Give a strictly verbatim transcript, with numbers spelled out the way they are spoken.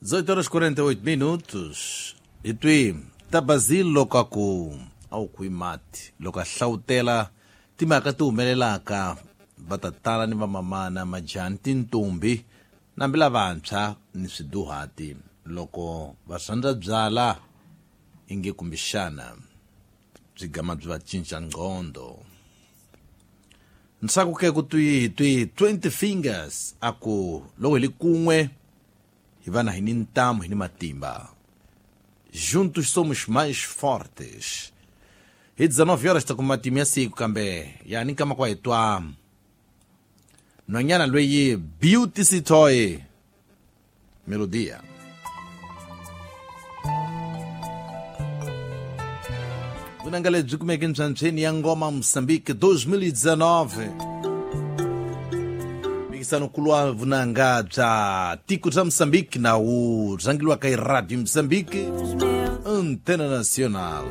dezoito horas e quarenta e oito minutos. Hi twi Tabazil loko a ku a wu kwi mati loko a hlawutela timhaka ti humelelaka va tatana ni vamamana majani tintombi nambi lavantshwa ni swiduhati loko va rhandza byala inge kumbexana byi gama byi va cinca nqondo. Ntsako ke ku twi twi twenty fingers a ku loko hi li kun'we hi va na hi ni ntamu hi ni matimba. Juntos somos mais fortes. Hi dezenove horas ta kuma matimu ya siku kambe ya ni nkama kwa hi twa nhwanyana loyi Beauty Sitoy Melodia. Vunanga lebyi kumeke ntswantsweni ya Ngoma Moçambique dois mil e dezenove. Mphikizano nkulu wa vunanga bya tiko bya Moçambique na wu rhangeliwaka hi Radio Moçambique Antena Nacional.